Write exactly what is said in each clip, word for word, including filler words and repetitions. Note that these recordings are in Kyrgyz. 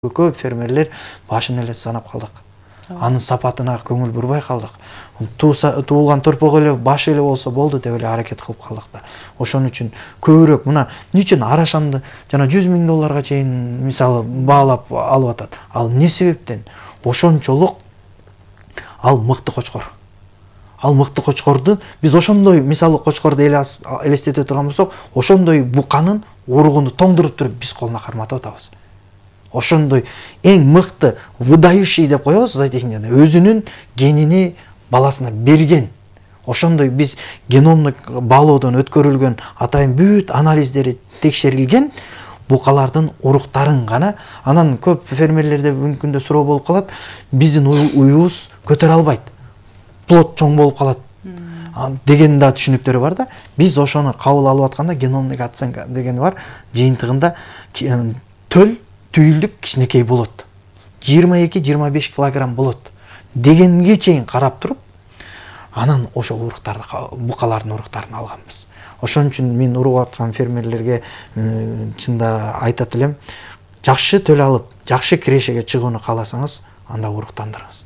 Көп фермерлер башын эле санап калдык. Анын сапатына көңүл бурбай калдык. Туулган торпок эле баш эле болсо болду деп эле аракет кылып калдык да. Ошон үчүн көбүрөөк мына эмне үчүн арашамды жана жүз миң долларга чейин мисалы баалап алып атат. Ал эмне себептен? Ошончолук ал мыкты кочкор. Ал мыкты кочкорду биз ошондой мисалы кочкорду элестете турган болсок, ошондой буканын уругуну тоңдуруп туруп биз колуна карматып атабыз. Ошондой эң мыкты выдающий деп коебуз зоотехникада, өзүнүн генини баласына берген. Ошондой биз геномдук баалоодон өткөрүлгөн атайын бүт анализдери текшерилген букалардын уруктарын гана. Анан көп фермерлерде мүмкүн да суроо болуп калат, биздин уюбуз көтөрө албайт. Плод чоң болуп калат деген да түшүнүктөрү бар да. Биз ошону кабыл алып атканда геномдук оценка дегени бар. Жыйынтыгында төл түйүлдүк кичинекей болот. жыйырма эки жыйырма беш килограмм болот дегенге чейин карап туруп, анан ошо уруктарды, букалардын уруктарын алганбыз. Ошон үчүн мен уруп аткан фермерлерге чында айтат элем, жакшы төл алып, жакшы кирешеге чыгууну кааласаңыз, анда уруктандырыңыз.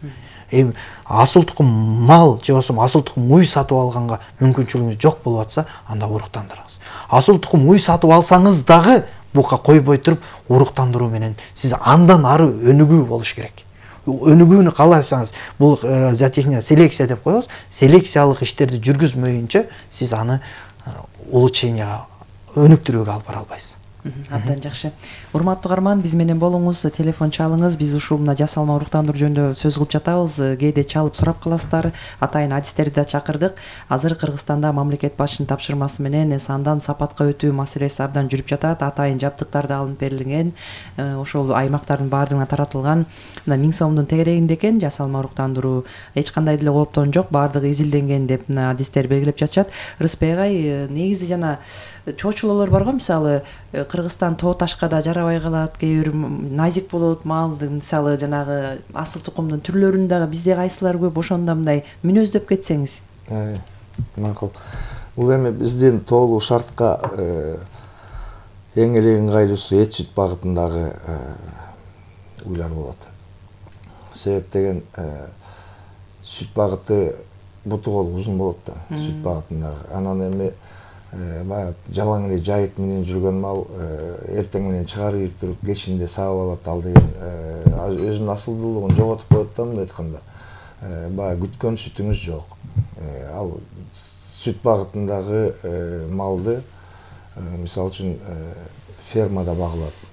Эми асыл тукум мал же болбосо асыл тукум уй сатып алганга мүмкүнчүлүгүңүз жок болуп атса, анда уруктандырыңыз. Асыл тукум уй сатып алсаңыз дагы бука койбой туруп уруктандыруу менен сиз андан ары өнүгүү болуш керек. Өнүгүүнү кааласаңыз, бул зоотехния селекция деп коебуз. Селекциялык иштерди жүргүзмөйүнчө сиз аны улучшенияга, өнүктүрүүгө алып бара албайсыз. Абдан жакшы. Урматтуу угарман, биз менен болуңуз, телефон чалыңыз. Биз ушул мына жасалма уруктандыруу жөнүндө сөз кылып жатабыз. Кээде чалып сурап каласыздар. Атайын адистерди да чакырдык. Азыр Кыргызстанда мамлекет башчынын тапшырмасы менен сандан сапатка өтүү маселеси абдан жүрүп жатат. Атайын жабдыктар да алынып берилген. Ошол аймактардын баардыгына таратылган. Мына миң сомдун тегерегинде экен жасалма уруктандыруу. Эч кандай деле кооптон жок, баардыгы изилденген деп мына адистер белгилеп жатышат. Рыспек агай, негизи жана чоочулоолор бар го, мисалы Кыргызстан тоо ташка да жарабай калат, кээ бир назик болот мал, мисалы жанагы асыл тукумдун түрлөрүн дагы бизде кайсылар көп, ошондо мындай мүнөздөп кетсеңиз. Макул. Бул эми биздин тоолуу шартка эң эле ыңгайлуусу эт сүт багытындагы уйлар болот. Себеп деген сүт багыты буту кол узун болот да, сүт багытындагы. Анан эми баягы жалаң эле жайыт менен жүргөн мал эртең менен чыгарып туруп кечинде саап алат, ал деген өзүнүн асылдуулугун жоготуп коет да, мындай айтканда. Баягы күткөн сүтүңүз жок. Ал сүт багытындагы малды мисалы үчүн фермада багылат.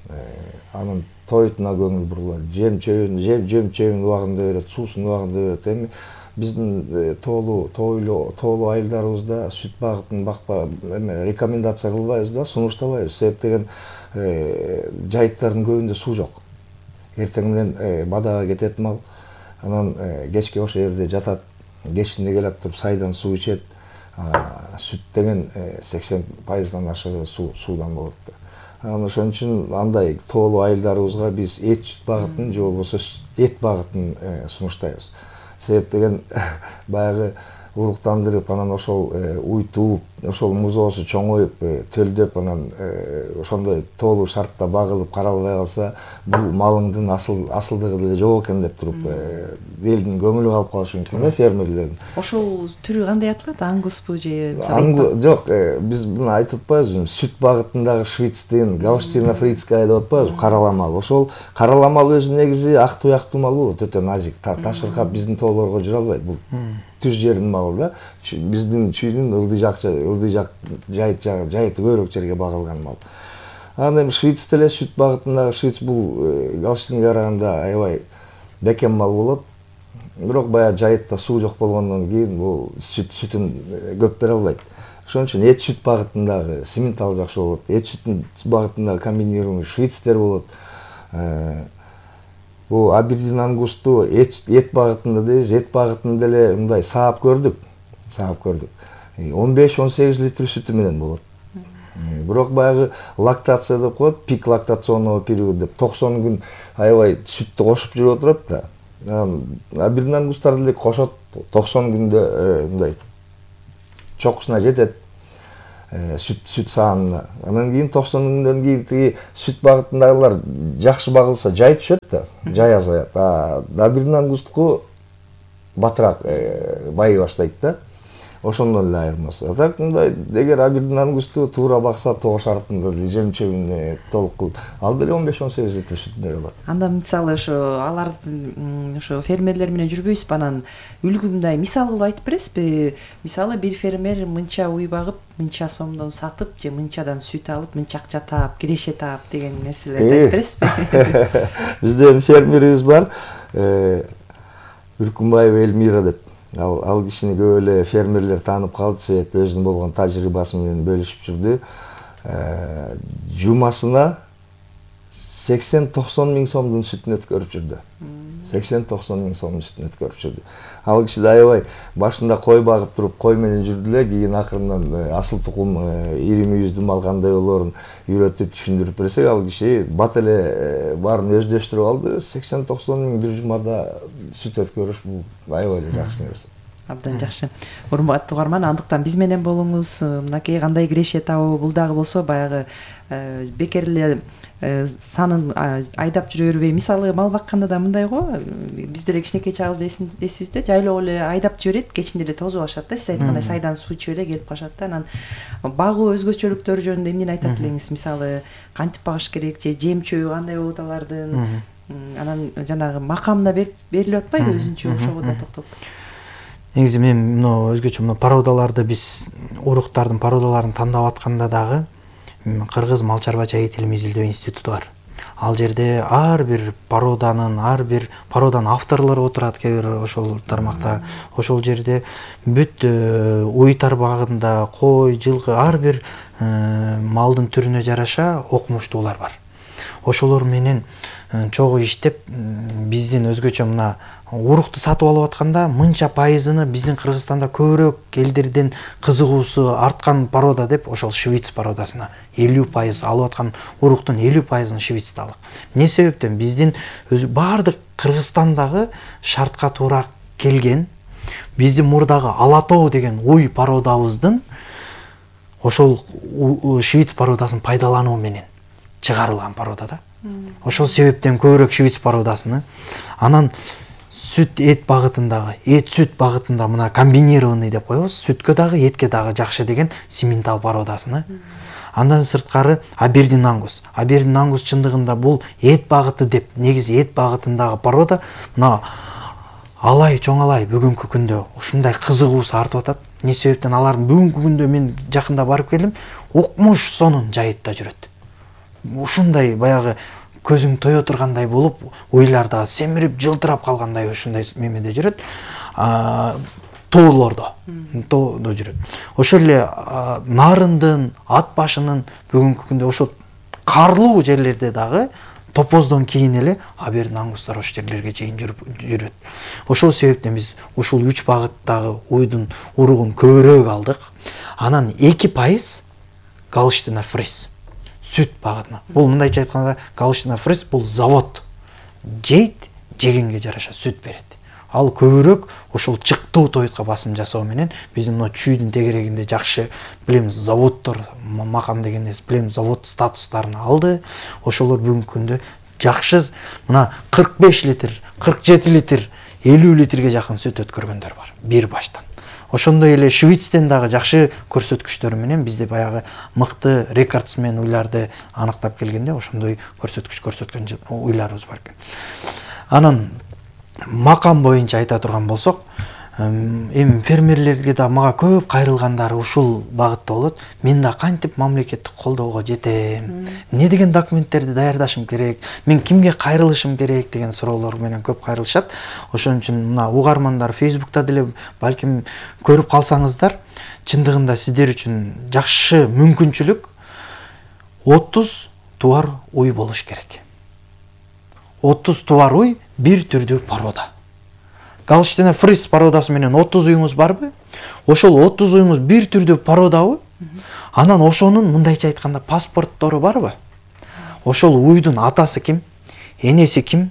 Анын тоютуна көңүл бурулат. Жем чөбүн, жем чөбүн убагында берет, суусун убагында берет. Эми биздин тоолуу тойлуу тоолуу айылдарыбызда сүт багытын бакпа эме рекомендация кылбайбыз да, сунуштабайбыз. Себеп деген жайыттардын көбүндө суу жок. Эртең менен бадага кетет мал, анан кечке ошол жерде жатат, кечинде келип туруп сайдан суу ичет. Сүт деген сексен пайыздан ашыгы суудан болот да. Анан ошон үчүн андай тоолуу айылдарыбызга биз эт сүт багытын же болбосо эт багытын сунуштайбыз. Себеп деген баягы уруктандырып, анан ошол уйтуп, ошол музоосу чоңоюп, төлдөп, анан ошондой тоолуу шартта багылып каралбай калса, бул малыңдын асыл асылдыгы деле жок экен деп туруп элдин көңүлү калып калышы мүмкүн да, фермерлердин. Ошол түрү кандай аталат? Ангуспу же жок, биз муну айтып атпайбызбы, сүт багытындагы швицтин, гаустина фрицкая деп атпайбызбы, карала мал. Ошол карала мал өзү негизи ак туяктуу мал болот, өтө назик, ташыркап биздин тоолорго жүрө албайт. Бул түз жердин малы да. Биздин чүйдүн ылдый жак, ылдый жак жайыт жайыты көбүрөөк жерге багылган мал. Анан эми швиц деле сүт багытындагы швиц бул гаустинге караганда аябай бекем мал болот. Бирок баягы жайытта суу жок болгондон кийин бул сүт сүтүн көп бере албайт. Ошон үчүн эт сүт багытындагы симментал жакшы болот. Эт сүтүн багытындагы комбинированный швицтер болот. Бул Абердин ангусту эт багытында дейбиз, эт багытында деле мындай саап көрдүк. Саап көрдүк. он беш он сегиз литр сүтү менен болот. Бирок баягы лактация деп коет, пик лактационного период деп токсон күн аябай сүттү кошуп жүрүп отурат да. Абердин ангустар деле кошот, токсон күндө мындай чокусуна жетет. сүт сүт саанына. Анан кийин токсон күндөн кийин тиги сүт багытындагылар жакшы багылса жай түшөт да, жай азаят. А абирдин ангустуку батыраак байый баштайт да. Ошондон эле айырмасы. Так мындай эгер абирдин ангусту туура бакса тогуз шартында жем-чөбүн толук кылып, ал деле он беш он сегиз литр сүтүнө алат. Анда мисалы ошо алардын ошо фермерлер менен жүрбөйсүзбү, анан үлгү мындай мисал кылып айтып бересизби? Мисалы бир фермер мынча уй багып, мынча сомдон сатып же мынчадан сүт алып, мынча акча таап, киреше таап деген нерселерди айтып бересизби? Бизде фермерибиз бар, Үркүнбаева Элмира деп. Ал, ал кишини көп эле фермерлер таанып калды, себеби өзүнүн болгон тажрыйбасы менен бөлүшүп жүрдү. Жумасына сексен токсон миң сомдун сүтүн өткөрүп жүрдү. сексен токсон миң сомдун сүтүн өткөрүп жүрдү. Ал киши да аябай башында кой багып туруп, кой менен жүрдү эле, кийин акырындан асыл тукум ири мүйүздүү мал кандай болоорун үйрөтүп, түшүндүрүп берсек, ал киши бат эле баарын өздөштүрүп алды. сексен токсон миң бир жумада сүт өткөрүш бул аябай жакшы нерсе. Абдан жакшы. Урматтуу угарман, андыктан биз менен болуңуз. Мынакей кандай киреше табуу, бул дагы болсо баягы бекер эле санын айдап жүрө бербей. Мисалы мал бакканда да мындай го, биз деле кичинекей чагыбызда эсибизде, жайлоо эле айдап жиберет, кечинде эле тозуп алышат да, сиз айткандай сайдан суу ичип эле келип калышат да. Анан багуу өзгөчөлүктөрү жөнүндө эмнени айтат элеңиз? Мисалы кантип багыш керек же жем-чөбү кандай болот алардын? Анан жанагы макамда берилип атпайбы өзүнчө, ошого да токтолуп кетсеңиз. Негизи мен мына өзгөчө мына породаларды биз уруктардын породаларын тандап атканда дагы Кыргыз мал чарбачы илим изилдөө институту бар. Ал жерде ар бир породанын, ар бир породанын авторлору отурат кээ бир ошол тармакта. Ошол жерде бүт уй тармагында кой, жылкы ар бир малдын түрүнө жараша окумуштуулар бар. Ошолор менен чогуу иштеп, биздин өзгөчө мына урукту сатып алып атканда мынча пайызыны биздин Кыргызстанда көбүрөөк элдердин кызыгуусу арткан порода деп ошол швиц породасына элүү пайыз алып аткан уруктун элүү пайызын швицталык. Эмне себептен биздин өзү баардык Кыргызстандагы шартка туура келген, биздин мурдагы Ала тоо деген уй породабыздын ошол швиц породасын пайдалануу менен чыгарылган порода да. Ошол себептен көбүрөөк швиц породасыны. Анан сүт эт багытындагы, эт сүт багытында мына комбинированный деп коебуз, сүткө дагы, этке дагы жакшы деген симментал породасыны. Андан сырткары абердин ангус. Абердин ангус чындыгында бул эт багыты деп, негизи эт багытындагы порода мына алай чоңалай бүгүнкү күндө ушундай кызыгуусу артып атат. Не себептен алардын бүгүнкү күндө мен жакында барып келдим, укмуш сонун жайытта жүрөт. Ушундай баягы көзүң тое тургандай болуп, уйларда семирип, жылтырап калгандай ушундай мемеде жүрөт. Тоолордо, тоодо жүрөт. Ошол эле нарындын, ат башынын бүгүнкү күндө ошо карлуу жерлерде дагы топоздон кийин эле абердин ангустар ошол жерлерге чейин жүрөт. Ошол себептен биз ушул үч багыттагы уйдун уругун көбүрөөк алдык. Анан эки пайыз Галштина фриз. Сүт багытына. Бул мындайча айтканда Галштина фриз бул завод. Жейт, жегенге жараша сүт берет. Ал көбүрөөк ошол чыктуу тойтко басым жасоо менен биздин мына чүйдүн тегерегинде жакшы билемиз заводдор, макам дегенде билемиз завод статустарын алды. Ошолор бүгүнкү күндө жакшы мына кырк беш литр, кырк жети литр, элүү литрге жакын сүт өткөргөндөр бар бир баштан. Ошондой эле Швецтен дагы жакшы көрсөткүчтөр менен бизде баягы мыкты рекордсмен уйларды аныктап келгенде ошондой көрсөткүч көрсөткөн уйларыбыз бар экен. Анан макам боюнча айта турган болсок, эми фермерлерге да мага көп кайрылгандары ушул багытта болот. Мен да кантип мамлекеттик колдоого жетем? Эмне деген документтерди даярдашым керек? Мен кимге кайрылышым керек деген суроолор менен көп кайрылышат. Ошон үчүн мына угармандар Facebook'та деле балким көрүп калсаңыздар, чындыгында сиздер үчүн жакшы мүмкүнчүлүк отуз тубар уй болуш керек. отуз тубар уй бир түрдүү порода. Галштина фриз породасы менен отуз уюңуз барбы? Ошол отуз уюңуз бир түрдүү породабы? Анан ошонун мындайча айтканда паспорттору барбы? Ошол уйдун атасы ким? Энеси ким?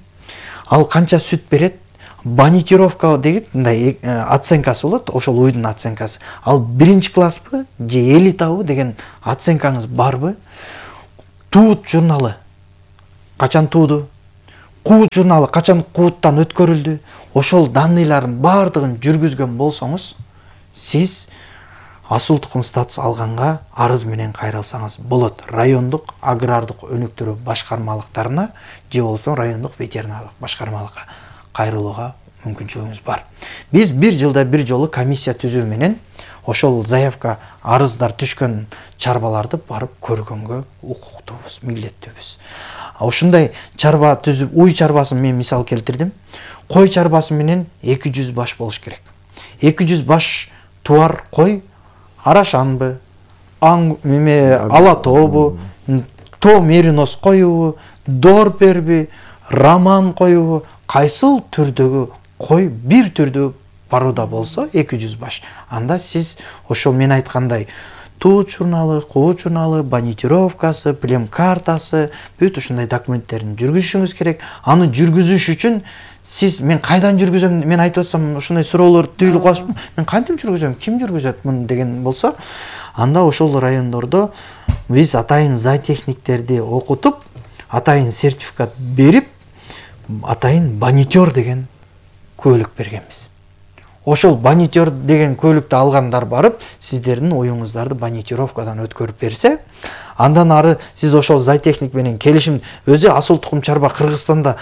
Ал канча сүт берет? Банитировка деген мындай оценкасы болот, ошол уйдун оценкасы. Ал биринчи класспы же элитабы деген оценкаңыз барбы? Туут журналы качан тууду? Куут журналы качан кууттан өткөрүлдү? Ошол данныйлардын бардыгын жүргүзгөн болсоңуз, сиз асыл тукум статус алганга арыз менен кайрылсаңыз болот. Райондук агрардык өнүктүрүү башкармалыктарына же болбосо райондук ветеринарлык башкармалыкка кайрылууга мүмкүнчүлүгүңүз бар. Биз бир жылда бир жолу комиссия түзүү менен ошол заявка арыздар түшкөн чарбаларды барып көргөнгө укуктуубуз, милдеттүүбүз. Ушундай чарба түзүп, уй чарбасын мен мисал келтирдим. Кой чарбасы менен эки жүз баш болуш керек. эки жүз баш туар кой арашанбы, аң эме ала тообу, тоо меринос коюбу, дорперби, роман коюбу, кайсыл түрдөгү кой бир түрдүү порода болсо эки жүз баш. Анда сиз ошол мен айткандай туут журналы, куут журналы, банитировкасы, плем картасы, бүт ушундай документтерин жүргүзүшүңүз керек. Аны жүргүзүш үчүн сиз мен кайдан жүргүзөм, мен айтып атсам ушундай суроолор түйүлүп калышпы? Мен кантип жүргүзөм, ким жүргүзөт муну деген болсо, анда ошол райондордо биз атайын зоотехниктерди окутуп, атайын сертификат берип, атайын банитер деген көйлүк бергенбиз. Ошол банитер деген көйлүктү алгандар барып, сиздердин оюңуздарды банитировкадан өткөрүп берсе, андан ары сиз ошол зоотехник менен келишим, өзү асыл тукум чарба Кыргызстанда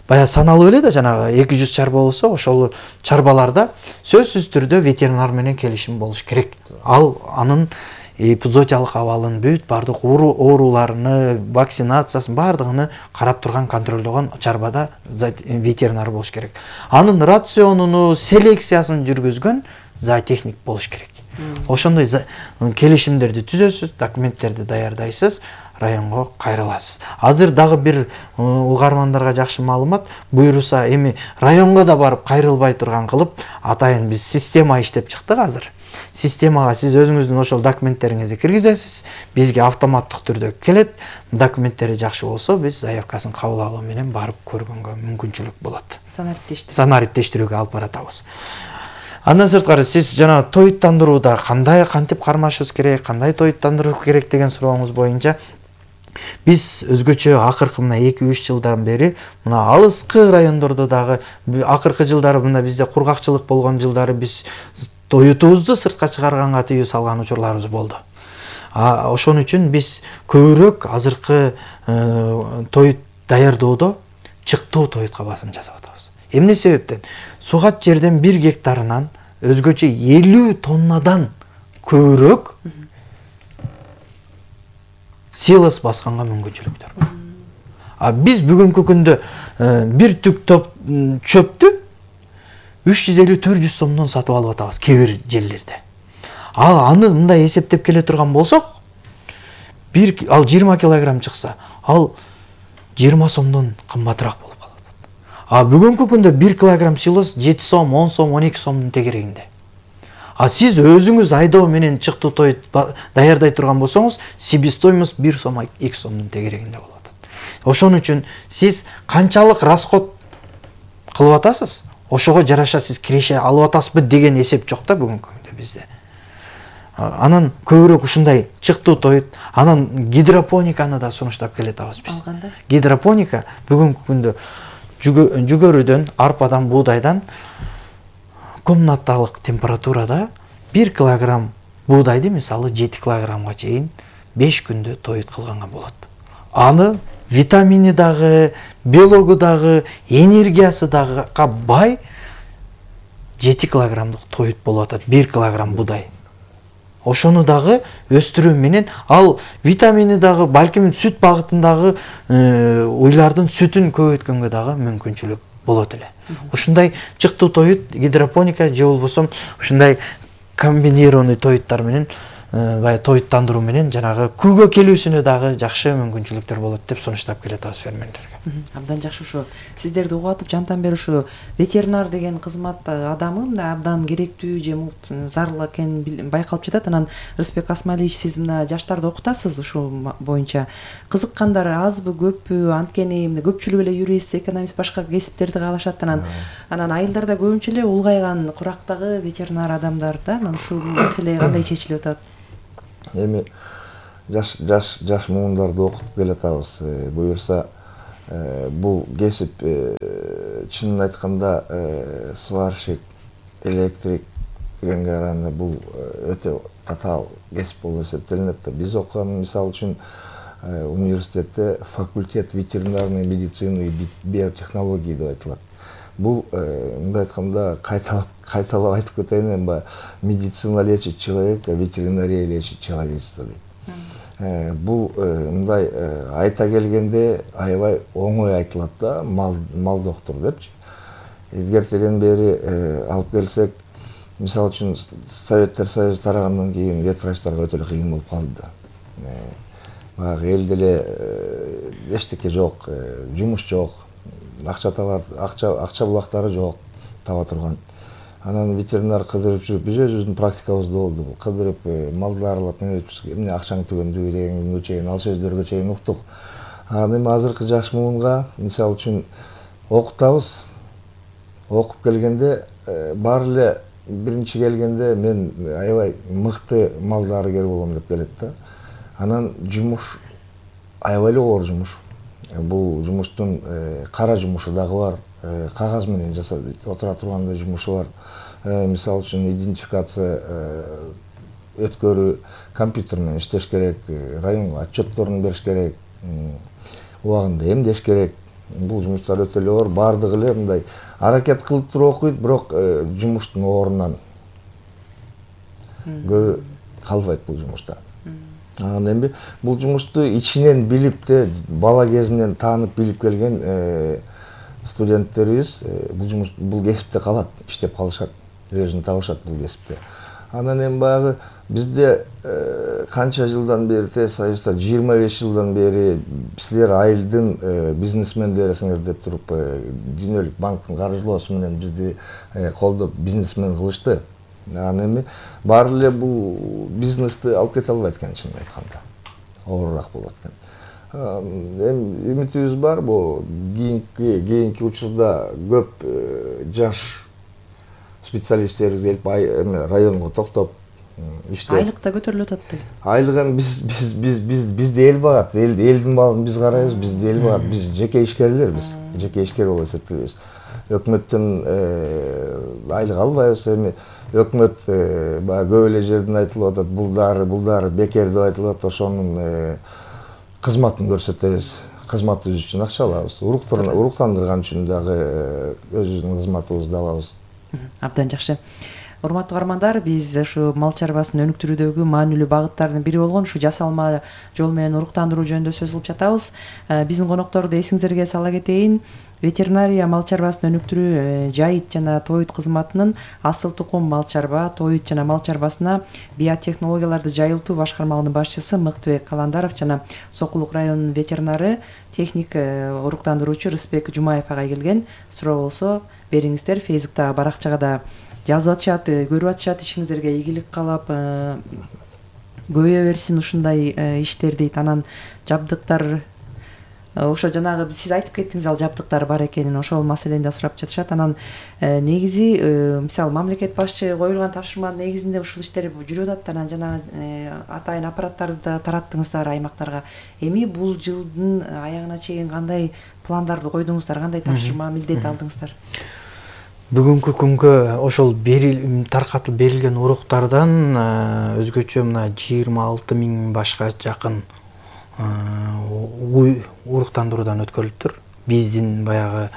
бая саналып эле да, жанагы эки жүз чарба болсо, ошол чарбаларда сөзсүз түрдө ветеринар менен келишим болуш керек. Ал анын эпизоотиялык абалын бүт бардык ооруларыны, вакцинациясын бардыгын карап турган, контролдогон чарбада ветеринар болуш керек. Анын рационуну, селекциясын жүргүзгөн зоотехник болуш керек. Ошондой келишимдерди түзөсүз, документтерди даярдайсыз, районго кайрыласыз. Азыр дагы бир угармандарга жакшы маалымат, буйруса эми районго да барып кайрылбай турган кылып, атайын биз система иштеп чыктык азыр. Системага сиз өзүңүздүн ошол документтериңизди киргизесиз, бизге автоматтык түрдө келет. Документтери жакшы болсо, биз заявкасын кабыл алуу менен барып көргөнгө мүмкүнчүлүк болот. Санариптештирүү. Санариптештирүүгө алып баратабыз. Андан сырткары сиз жана тоюттандырууда кандай кантип кармашыбыз керек, кандай тоюттандыруу керек деген сурооңуз боюнча биз өзгөчө акыркы мына эки үч жылдан бери мына алыскы райондордо дагы акыркы жылдары мына бизде кургакчылык болгон жылдары биз тоютубузду сыртка чыгарганга тыюу салган учурларыбыз болду. Ошон үчүн биз көбүрөөк азыркы тоют даярдоодо чыктуу тоютка басым жасап атабыз. Эмне себептен? Сугат жерден бир гектарынан өзгөчө элүү тоннадан көбүрөөк силос басканга мүмкүнчүлүктөр бар. А биз бүгүнкү күндө бир түк топ чөптү үч жүз элүү төрт жүз сомдон сатып алып атабыз кээ бир жерлерде. Ал аны мындай эсептеп келе турган болсок, бир ал жыйырма килограмм чыкса, ал жыйырма сомдон кымбатыраак болуп калат. А бүгүнкү күндө бир килограмм силос жети сом, он сом, он эки сомдун тегерегинде. А сиз өзүңүз айдоо менен чыктуу тоют даярдай турган болсоңуз, себестоимость бир сом, эки сомдун тегерегинде болуп атат. Ошон үчүн сиз канчалык расход кылып атасыз, ошого жараша сиз киреше алып атасызбы деген эсеп жок да бүгүнкү күндө бизде. Анан көбүрөөк ушундай чыктуу тоют, анан гидропониканы да сунуштап келатабыз биз. Алганда Гидропоника бүгүнкү күндө жүгөрүдөн, арпадан, буудайдан комнаталык температурада бир килограмм буудайды мисалы жети килограммга чейин беш күндө тоют кылганга болот. Аны витамини дагы, белогу дагы, энергиясы дагы бай жети килограммдык тоют болуп атат бир килограмм буудай. Ошону дагы өстүрүү менен ал витамини дагы, балким сүт багытындагы уйлардын сүтүн көбөйткөнгө дагы мүмкүнчүлүк болот эле. Ушундай чыктуу тоют, гидропоника же болбосо ушундай комбинированный тоюттар менен, бая тоюттандыруу менен жанагы күнгө келүүсүнө дагы жакшы мүмкүнчүлүктөр болот деп сунуштап келатабыз фермерлерге. Абдан жакшы. Ушу сиздерди угуп атып жантан бери ушу ветеринар деген кызмат адамы мындай абдан керектүү же зарыл экени байкалып жатат. Анан Рыспек Асмалиевич, сиз мына жаштарды окутасыз ушул боюнча. Кызыккандар азбы көппү? Анткени көпчүлүк эле юрист, экономист, башка кесиптерди каалашат. Анан анан айылдарда көбүнчө эле улгайган курактагы ветеринар адамдар да. Анан ушул маселе кандай чечилип атат? Эми жаш жаш жаш муундарды окутуп келатабыз. Буюрса бул кесип чынын айтканда сварщик, электрик дегенге караганда бул өтө татаал кесип болуп эсептелинет. Биз окуган мисалы үчүн университетте факультет ветеринарной медицины и биотехнологии деп айтылат. Бул мындай айтканда кайталап кайталап айтып кетейин, эми медицина лечит человека, ветеринария лечит человечество дейт. Бул мындай айта келгенде аябай оңой айтылат да, мал мал доктор депчи. Илгертеден бери алып келсек, мисалы үчүн Советтер Союзу тарагандан кийин ветврачтарга өтө эле кыйын болуп калды да. Баягы элде эле эчтеке жок, жумуш жок, акча табар, акча акча булактары жок таба турган. Анан ветеринар кыдырып жүрүп, биз өзүбүздүн практикабызда болду. Бул кыдырып, малды аралап, эмне акчаң түгөндү дегенге чейин, ал сөздөргө чейин уктук. Анан эми азыркы жаш муунга, мисалы үчүн окутабыз. Окуп келгенде баары эле биринчи келгенде мен аябай мыкты мал дарыгер болом деп келет да. Анан жумуш аябай эле оор жумуш. Бул жумуштун кара жумушу дагы бар, кагаз менен жасап отура тургандай жумушу бар. Мисалы үчүн идентификация өткөрүү, компьютер менен иштеш керек, районго отчетторун бериш керек, убагында эмдеш керек. Бул жумуштар өтө эле оор, баардыгы эле мындай аракет кылып туруп окуйт, бирок жумуштун оорунан көбү калбайт бул жумушта. Анан эми бул жумушту ичинен билип де, бала кезинен таанып билип келген студенттерибиз бул жумуш бул кесипте калат, иштеп калышат, өзүн табышат бул кесипте. Анан эми баягы бизде канча жылдан бери, тез Союзда жыйырма беш жылдан бери силер айылдын бизнесмендерисиңер деп туруп, дүйнөлүк банктын каржылоосу менен бизди колдоп бизнесмен кылышты. Анан эми баары эле бул бизнести алып кете албайт экен, чынын айтканда. Оорураак болот экен. Эми үмүтүбүз бар, бул кийинки кийинки учурда көп жаш специалисттер келип районго токтоп иштеп. Айлык да көтөрүлүп атат дейт. Айлык эми биз биз биз биз бизди эл багат, элдин малын биз карайбыз, бизди эл багат, биз жеке ишкерлербиз, жеке ишкер болуп эсептелебиз. Өкмөттөн айлык албайбыз. Эми өкмөт баягы көп эле жерден айтылып атат, бул дары, бул дары бекер деп айтылып атат, ошонун кызматын көрсөтөбүз. Кызматыбыз үчүн акча алабыз. Уруктандырган үчүн дагы өзүбүздүн кызматыбызды алабыз. Абдан жакшы. Урматтуу каармандар, биз ушу мал чарбасын өнүктүрүүдөгү маанилүү багыттардын бири болгон ушу жасалма жол менен уруктандыруу жөнүндө сөз кылып жатабыз. Биздин конокторду эсиңиздерге сала кетейин. Ветеринария мал чарбасын өнүктүрүү жайыт жана тоют кызматынын асыл тукум мал чарба, тоют жана мал чарбасына биотехнологияларды жайылтуу башкармалыгынын башчысы Мыктыбек Каландаров жана Сокулук районунун ветеринары, техник уруктандыруучу Рыспек Жумаев агай келген. Суроо болсо бериңиздер, Фейсбуктагы баракчага да жазып атышат, көрүп атышат, ишиңиздерге ийгилик каалап, көбөйө берсин ушундай иштер дейт. Анан жабдыктар, ошо жанагы сиз айтып кеттиңиз, ал жабдыктар бар экенин, ошол маселени да сурап жатышат. Анан негизи мисалы мамлекет башчы коюлган тапшырманын негизинде ушул иштер жүрүп атат. Анан жанагы атайын аппараттарды да тараттыңыздар аймактарга. Эми бул жылдын аягына чейин кандай пландарды койдуңуздар, кандай тапшырма, милдет алдыңыздар? Бүгүнкү күнгө ошол таркатылып берилген уруктардан өзгөчө мына жыйырма алты миң башка жакын уруктандыруудан өткөрүлүптүр. Биздин баягы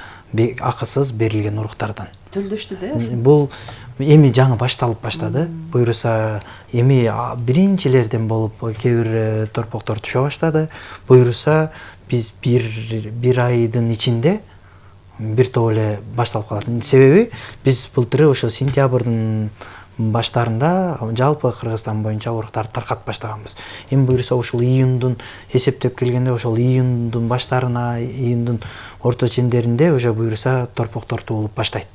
акысыз берилген уруктардан. Төлдөштү да? Бул эми жаңы башталып баштады. Буюрса эми биринчилерден болуп кээ бир торпоктор түшө баштады. Буюрса биз бир бир айдын ичинде бир топ эле башталып калат. Себеби биз былтыры ошо сентябрдын баштарында жалпы Кыргызстан боюнча уруктарды таркатып баштаганбыз. Эми буюрса ушул июндун эсептеп келгенде ошол июндун баштарына, июндун орто чендеринде уже буюрса торпоктор туулуп баштайт.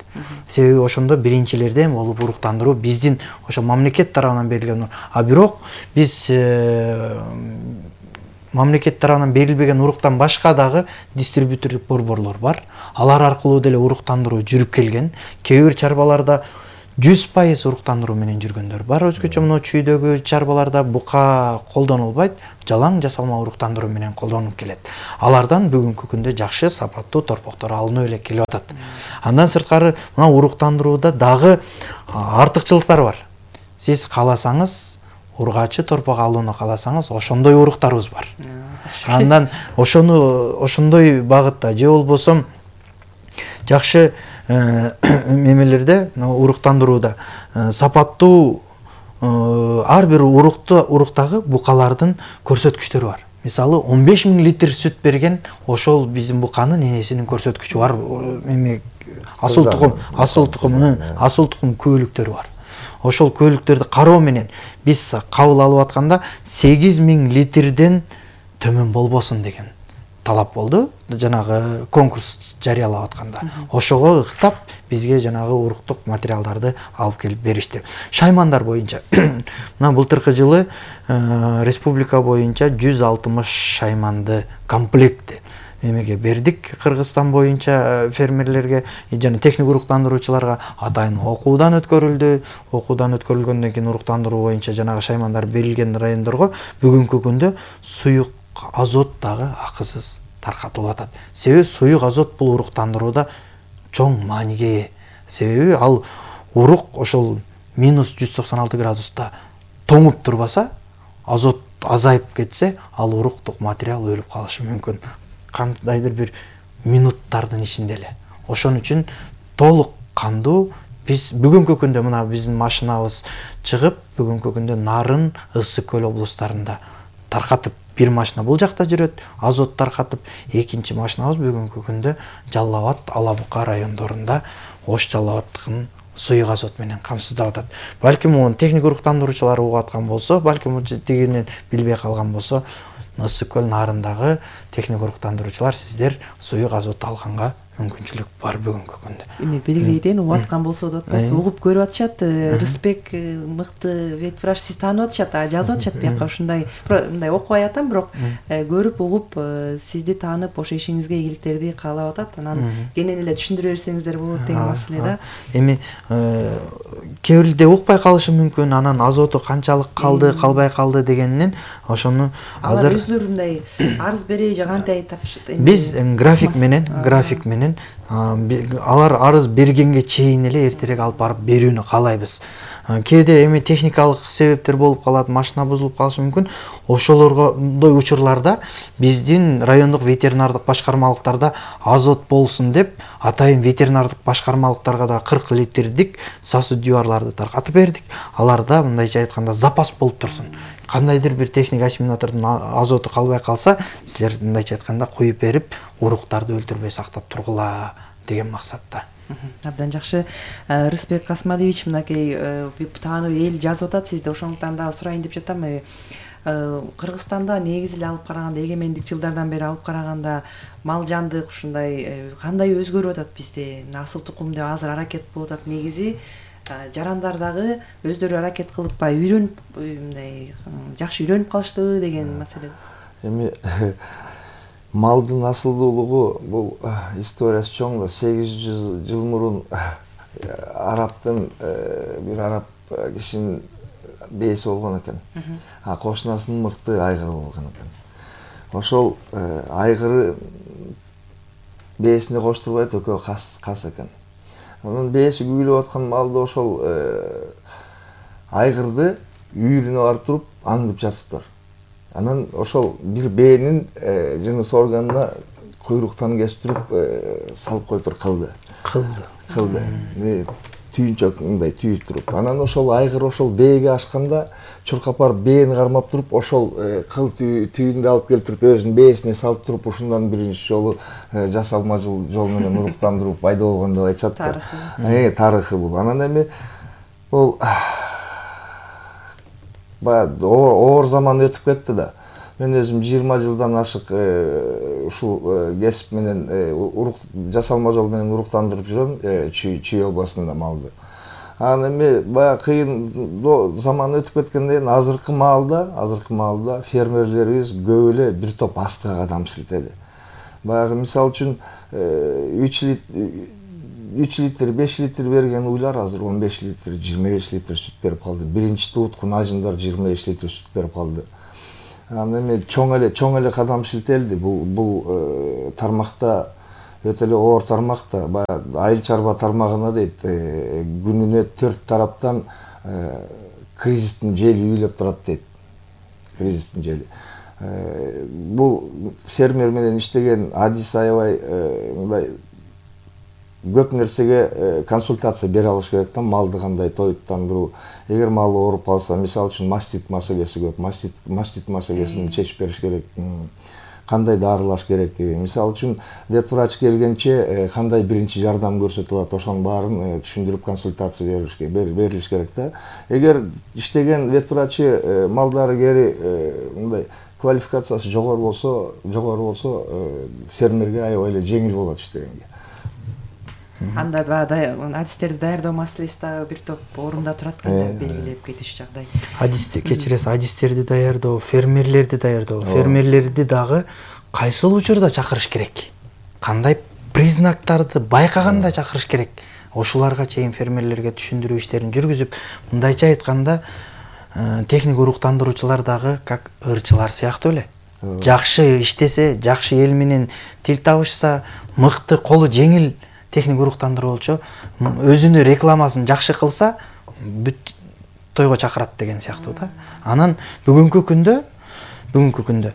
Себеби ошондо биринчилерден болуп уруктандыруу биздин ошо мамлекет тарабынан берилген. А бирок биз мамлекет тарабынан берилбеген уруктан башка дагы дистрибьютордук борборлор бар. Алар аркылуу деле уруктандыруу жүрүп келген. Кээ бир чарбаларда жүз пайыз уруктандыруу менен жүргөндөр бар. Өзгөчө мына чүйдөгү чарбаларда бука колдонулбайт, жалаң жасалма уруктандыруу менен колдонуп келет. Алардан бүгүнкү күндө жакшы сапаттуу торпоктор алынып эле келип атат. Андан сырткары мына уруктандырууда дагы артыкчылыктар бар. Сиз кааласаңыз, ургачы торпок алууну кааласаңыз, ошондой уруктарыбыз бар. Андан ошону ошондой багытта же болбосо жакшы мемелерде уруктандырууда сапаттуу ар бир урукту уруктагы букалардын көрсөткүчтөрү бар. Мисалы он беш миң литр сүт берген ошол биздин буканын энесинин көрсөткүчү бар. Эми асыл тукум, асыл тукум, асыл тукум көөлүктөрү бар. Ошол көөлүктөрдү кароо менен биз кабыл алып атканда сегиз миң литрден төмөн болбосун деген талап болду. Жанагы конкурс жарыялап атканда. Ошого ыктап бизге жанагы уруктук материалдарды алып келип беришти. Шаймандар боюнча мына былтыркы жылы республика боюнча жүз алтымыш шайманды комплектти эмеге бердик. Кыргызстан боюнча фермерлерге жана техник уруктандыруучуларга атайын окуудан өткөрүлдү. Окуудан өткөрүлгөндөн кийин уруктандыруу боюнча жанагы шаймандар берилген райондорго бүгүнкү күндө суюк азот дагы акысыз таркатылып атат. Себеби суюк азот бул уруктандырууда чоң мааниге ээ. Себеби ал урук ошол минус жүз токсон алты градуста тоңуп турбаса, азот азайып кетсе, ал уруктук материал өлүп калышы мүмкүн. Кандайдыр бир минуттардын ичинде эле. Ошон үчүн толук кандуу биз бүгүнкү күндө мына биздин машинабыз чыгып, бүгүнкү күндө Нарын, Ысык көл облустарында таркатып, бир машина бул жакта жүрөт, азот таркатып, экинчи машинабыз бүгүнкү күндө Жалал Абад, Ала Бука райондорунда Ош Жалал Абадтын суюк азот менен камсыздап атат. Балким муну техник уруктандыруучулар угуп аткан болсо, балким тигинен билбей калган болсо, Ысык көл Нарындагы техник уруктандыруучулар сиздер суюк азот алганга мүмкүнчүлүк бар бүгүнкү күндө. Эми белгилейден угуп аткан болсо да атпайсыз, угуп көрүп атышат. Рысбек мыкты ветврач сиз таанып атышат, жазып атышат бияка ушундай, мындай окубай атам, бирок көрүп угуп сизди таанып ошо ишиңизге ийгиликтерди каалап атат. Анан кенен эле түшүндүрө берсеңиздер болот деген маселе да. Эми кээ бирде укпай калышы мүмкүн, анан азоту канчалык калды, калбай калды дегенинен ошону азыр өзүлөрү мындай арыз береби же кантип тапышат? Биз график менен, график менен алар арыз бергенге чейин эле эртерээк алып барып берүүнү каалайбыз. Кээде эми техникалык себептер болуп калат, машина бузулуп калышы мүмкүн. Ошолордой учурларда биздин райондук ветеринардык башкармалыктарда азот болсун деп атайын ветеринардык башкармалыктарга да кырк литрдик сосудюарларды таркатып бердик. Аларда мындайча айтканда запас болуп турсун. Кандайдыр бир техник ассимилятордун азоту калбай калса, силер мындайча айтканда куюп берип, уруктарды өлтүрбөй сактап тургула деген максатта. Абдан жакшы. Рысбек Касмалиевич, мынакей таанып эл жазып атат сизди, ошондуктан дагы сурайын деп жатам. Кыргызстанда негизи эле алып караганда, эгемендик жылдардан бери алып караганда мал жандык ушундай кандай өзгөрүп атат бизде? Асыл тукум деп азыр аракет болуп атат. Негизи жарандар дагы өздөрү аракет кылып бай үйрөнүп, мындай жакшы үйрөнүп калыштыбы деген маселе. Эми малдын асылдуулугу бул историясы чоң да. сегиз жүз жыл мурун араптын бир араб кишинин бээси болгон экен. А кошунасынын мыкты айгыры болгон экен. Ошол айгыры бээсине коштурбайт, экөө кас кас экен. Анан бээси күйүлүп аткан малды ошол айгырды үйүрүнө барып туруп аңдып жатыптыр. Анан ошол бир бээнин жыныс органына куйруктан кесип туруп салып коюптур, кылды. Кылды. Кылды. Түйүнчөк мындай түйүп туруп. Анан ошол айгыр ошол бээге ашканда чуркап барып бээни кармап туруп, ошол кыл түйүндү алып келип туруп өзүнүн бээсине салып туруп, ушундан биринчи жолу жасалма жол менен уруктандыруу пайда болгон деп айтышат да. Тарыхы бул. Анан эми Бул баягы оор заман өтүп кетти да. Мен өзүм жыйырма жылдан ашык ушул кесип менен урук жасалма жол менен уруктандырып жүрөм Чүй областында малды. Анан эми баягы кыйын заман өтүп кеткенден кийин азыркы маалда, азыркы маалда фермерлерибиз көп эле бир топ астыга кадам силтеди. Баягы мисалы үчүн үч литр, беш литр берген уйлар азыр он беш литр, жыйырма беш литр сүт берип калды. Биринчи тууткун ажындар жыйырма беш литр сүт берип калды. Анан эми чоң эле чоң эле кадам силтелди. Бул бул тармакта өтө эле оор тармак да. Баягы айыл чарба тармагына дейт, күнүнө төрт тараптан кризистин жели үйлөп турат дейт. Кризистин жели. Бул фермер менен иштеген адис аябай мындай көп нерсеге консультация бере алыш керек да, малды кандай тоюттандыруу. Эгер мал ооруп калса, мисалы үчүн мастит маселеси көп, мастит мастит маселесин чечип бериш керек. Кандай дарылаш керек деген. Мисалы үчүн ветврач келгенче кандай биринчи жардам көрсөтүлөт, ошонун баарын түшүндүрүп консультация берилиш берилиш керек да. Эгер иштеген ветврачы малдары кери мындай квалификациясы жогору болсо, жогору болсо фермерге аябай эле жеңил болот иштегенге. Анда баягы адистерди даярдоо маселеси дагы бир топ орунда турат экен, белгилеп кетиш жагдай. Адисти кечиресиз, адистерди даярдоо, фермерлерди даярдоо, фермерлерди дагы кайсыл учурда чакырыш керек? Кандай признактарды байкаганда чакырыш керек? Ошоларга чейин фермерлерге түшүндүрүү иштерин жүргүзүп, мындайча айтканда, техник уруктандыруучулар дагы как ырчылар сыяктуу эле. Жакшы иштесе, жакшы эл менен тил табышса, мыкты, колу жеңил техник уруктандыруучу өзүнүн рекламасын жакшы кылса, бүт тойго чакырат деген сыяктуу да. Анан бүгүнкү күндө, бүгүнкү күндө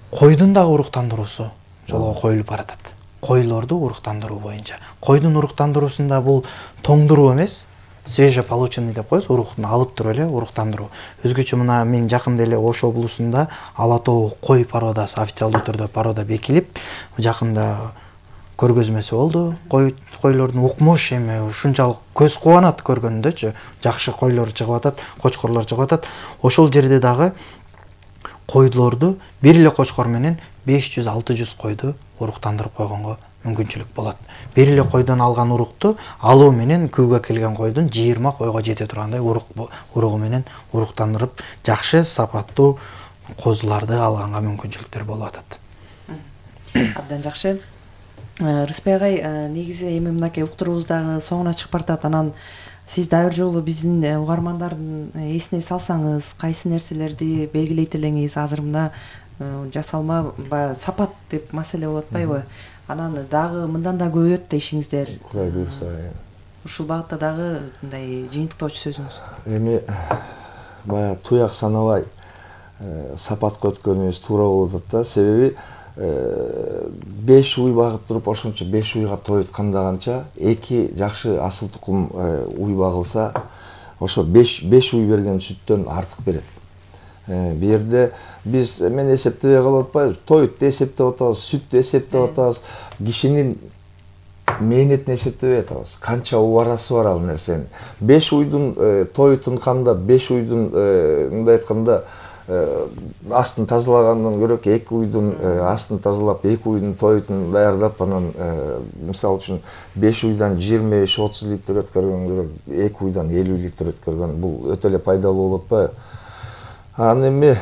койдун дагы уруктандыруусу жолго коюлуп баратат. Койлорду уруктандыруу боюнча. Койдун уруктандыруусунда бул тоңдуруу эмес, свежеполученный деп коебуз, уруктун алып туруп эле уруктандыруу. Өзгөчө мына мен жакында эле Ош облусунда Ала тоо кой породасы официалдуу түрдө порода бекилип, жакында көргөзмөсү болду. Кой койлордун укмуш эми ушунчалык көз кубанат көргөндөчү. Жакшы койлор чыгып атат, кочкорлор чыгып атат. Ошол жерде дагы койлорду бир эле кочкор менен беш жүз алты жүз койду уруктандырып койгонго мүмкүнчүлүк болот. Бир эле койдон алган урукту алуу менен күүгө келген койдун жыйырма койго жете тургандай урук уругу менен уруктандырып, жакшы сапаттуу козуларды алганга мүмкүнчүлүктөр болуп атат. Абдан жакшы. Рыспай агай, негизи эми мынакей уктуруубуз дагы соңуна чыгып баратат. Анан сиз дагы бир жолу биздин угармандардын эсине салсаңыз, кайсы нерселерди белгилейт элеңиз? Азыр мына жасалма баягы сапат деп маселе болуп атпайбы? Анан дагы мындан да көбөйөт да ишиңиздер. Кудай буйрса. Ушул багытта дагы мындай жыйынтыктоочу сөзүңүз. Эми баягы туяк санабай сапатка өткөнүбүз туура болуп атат да. Себеби беш уй багып туруп, ошончо беш уйга тоют кандаганча эки жакшы асыл тукум уй багылса, ошо беш уй берген сүттөн артык берет. Бу жерде биз мен эсептебей калып атпайбыз, тоютты эсептеп атабыз, сүттү эсептеп атабыз, кишинин мээнетин эсептебей атабыз. Канча убарасы бар ал нерсенин. беш уйдун тоютун кандап, беш уйдун мындай айтканда астын тазалагандан көрө эки уйдун астын тазалап, эки уйдун тоютун даярдап, анан мисалы үчүн беш уйдан жыйырма беш отуз литр өткөргөн көрө эки уйдан элүү литр өткөргөн, бул өтө эле пайдалуу болуп атпайбы? Анан эми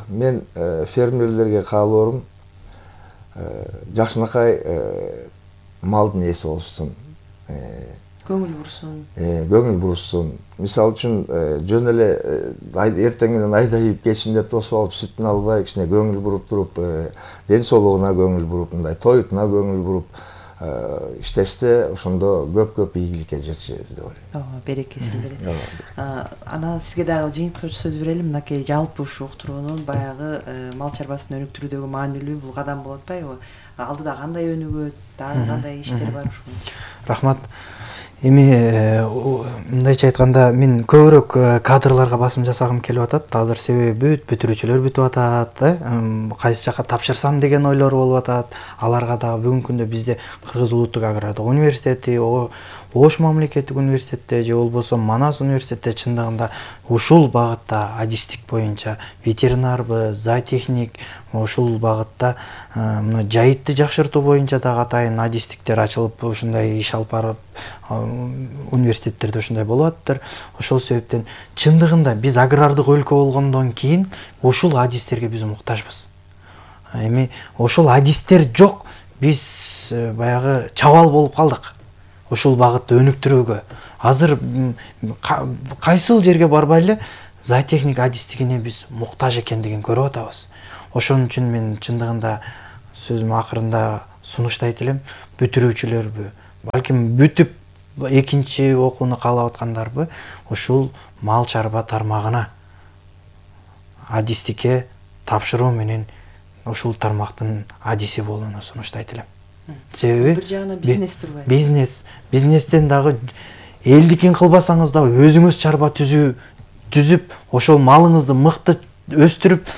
мен фермерлерге каалоорум жакшынакай малдын ээси болушсун. Көңүл бурушсун. Көңүл бурушсун. Мисалы үчүн жөн эле эртең менен айдайып кечинде тосуп алып сүтүн албай, кичине көңүл буруп туруп, ден соолугуна көңүл буруп, мындай тоютуна көңүл буруп иштеште, ошондо көп-көп ийгиликке жетишет деп ойлойм. Ооба, берекесин берет. Анан сизге дагы жыйынтыктоочу сөз берели. Мынакей жалпы ушу уктуруунун баягы мал чарбасын өнүктүрүүдөгү маанилүү бул кадам болуп атпайбы? Алдыда кандай өнүгөт, дагы кандай иштер бар ушул? Рахмат. Эми мындайча айтканда мен көбүрөөк кадрларга басым жасагым келип атат. Азыр себеби бүт бүтүрүүчүлөр бүтүп атат, кайсы жака тапшырсам деген ойлор болуп атат. Аларга дагы бүгүнкү күндө бизде Кыргыз Улуттук агрардык университети, Ош мамлекеттик университетте же болбосо Манас университетте чындыгында ушул багытта адистик боюнча ветеринарбы, зоотехник, ушул багытта мына жайытты жакшыртуу боюнча дагы атайын адистиктер ачылып ушундай иш алып барып университеттерде ушундай болуп атыптыр. Ошол себептен чындыгында биз агрардык өлкө болгондон кийин ушул адистерге биз муктажбыз. Эми ошол адистер жок, биз баягы чабал болуп калдык. Ушул багытты өнүктүрүүгө. Азыр кайсыл жерге барбайлы зоотехник адистигине биз муктаж экендигин көрүп атабыз. Ошон үчүн мен чындыгында сөзүм акырында сунуштайт элем, бүтүрүүчүлөрбү, балким бүтүп экинчи окууну каалап аткандарбы ушул мал чарба тармагына адистикке тапшыруу менен ушул тармактын адиси болууну сунуштайт элем. Себеби бир жагынан бизнес турбайбы? Бизнес, бизнестен дагы элдикин кылбасаңыз да өзүңүз чарба түзүү түзүп, ошол малыңызды мыкты өстүрүп,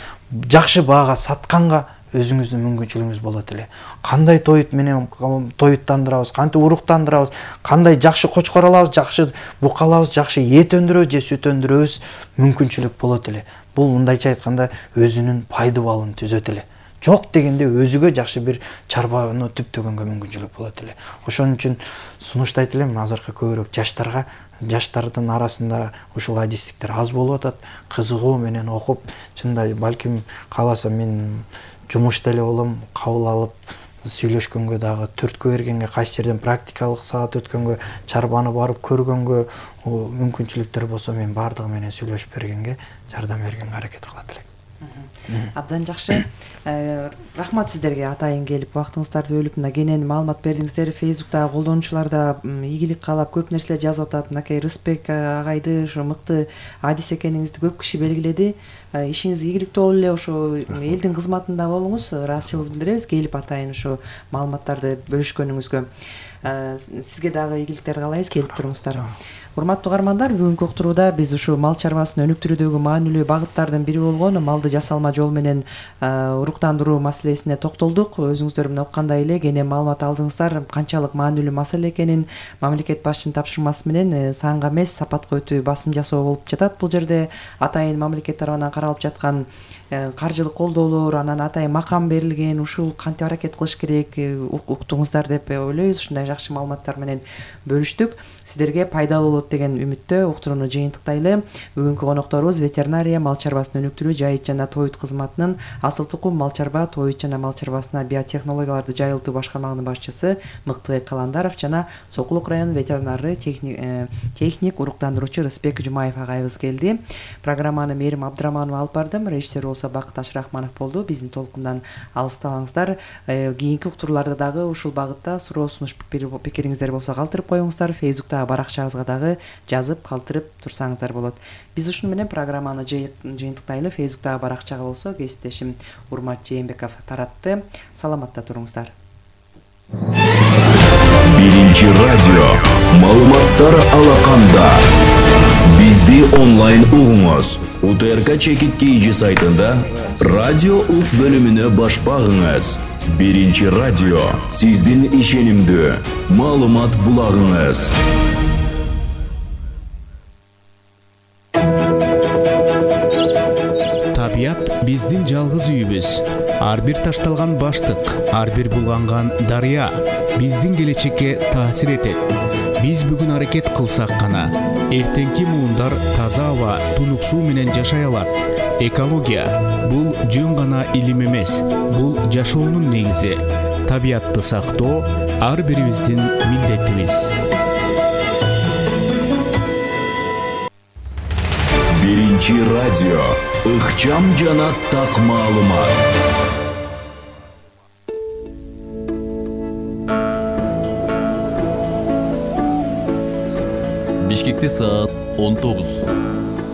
жакшы баага сатканга өзүңүздүн мүмкүнчүлүгүңүз болот эле. Кандай тоют менен тоюттандырабыз, кантип уруктандырабыз, кандай жакшы кочкор алабыз, жакшы бука алабыз, жакшы эт өндүрөбүз же сүт өндүрөбүз мүмкүнчүлүк болот эле. Бул мындайча айтканда өзүнүн пайды балын түзөт эле. Жок дегенде өзүгө жакшы бир чарбаны түптөгөнгө мүмкүнчүлүк болот эле. Ошон үчүн сунуштайт элем азыркы көбүрөөк жаштарга, жаштардын арасында ушул адистиктер аз болуп атат. Кызыгуу менен окуп, чынында балким кааласа мен жумушта эле болом, кабыл алып сүйлөшкөнгө дагы түрткө бергенге, кайсы жерден практикалык саат өткөнгө, чарбаны барып көргөнгө мүмкүнчүлүктөр болсо мен бардыгы менен сүйлөшүп бергенге, жардам бергенге аракет кылат элем. Абдан жакшы. Рахмат сиздерге атайын келип убактыңыздарды бөлүп мына кенен маалымат бердиңиздер. Фейсбуктагы колдонуучулар да ийгилик каалап көп нерселер жазып атат. Мынакей Рысбек агайды ошо мыкты адис экениңизди көп киши белгиледи. Ишиңиз ийгиликтүү болуп эле, ошо элдин кызматында болуңуз. Ыраазычылыгыбызды билдиребиз келип атайын ошо маалыматтарды бөлүшкөнүңүзгө. Сизге дагы ийгиликтер каалайбыз, келип туруңуздар. Урматтуу угармандар, бүгүнкү уктурууда биз ушул мал чарбасын өнүктүрүүдөгү маанилүү багыттардын бири болгон малды жасалма жол менен уруктандыруу маселесине токтолдук. Өзүңүздөр менен уккандай эле кенен маалымат алдыңыздар канчалык маанилүү маселе экенин. Мамлекет башчынын тапшырмасы менен санга эмес сапатка өтүү басым жасоо болуп жатат. Бул жерде атайын мамлекет тарабынан каралып жаткан каржылык колдоолор, анан атайын макам берилген, ушул кантип аракет кылыш керек уктуңуздар деп ойлойбуз. Ушундай жакшы маалыматтар менен бөлүштүк. Сиздерге пайдалуу болот деген үмүттө уктурууну жыйынтыктайлы. Бүгүнкү конокторубуз ветеринария, мал чарбасын өнүктүрүү, жайыт жана тоют кызматынын Асыл Тукум мал чарба, тоют жана мал чарбасына биотехнологияларды жайылтуу башкармагынын башчысы Мыктыбек Каландаров жана Сокулук районунун ветеринары техник, техник уруктандыруучу Рысбек Жумаев агайыбыз келди. Программаны Мээрим Абдыраманова алып бардым. Режиссер болсо Бакыт Ашырахманов болду. Биздин толкундан алыстабаңыздар. Кийинки уктурууларда дагы ушул багытта суроо сунуш пикириңиздер болсо калтырып коюңуздар. Фейсбуктагы баракчабызга дагы жазып калтырып турсаңыздар болот. Биз ушуну менен программаны жыйынтыктайлы. Фейсбуктагы баракчага болсо кесиптешим Урмат Жээнбеков таратты. Саламатта туруңуздар. Биринчи радио маалыматтар алаканда. Бизди онлайн угуңуз. УТРК Чекит КЖ сайтында радио ук бөлүмүнө баш багыңыз. Биринчи радио сиздин ишенимдүү маалымат булагыңыз. Табият биздин жалгыз үйүбүз. Ар бир ташталган баштык, ар бир булганган дарыя биздин келечекке таасир этет. Биз бүгүн аракет кылсак гана эртеңки муундар таза аба, тунук суу менен жашай алат. Экология бул жөн гана илим эмес, бул жашоонун негизи. Табиатты сактоо ар бирибиздин милдетибиз. Биринчи радио ыкчам жана так маалымат. Бишкекте саат он тогуз.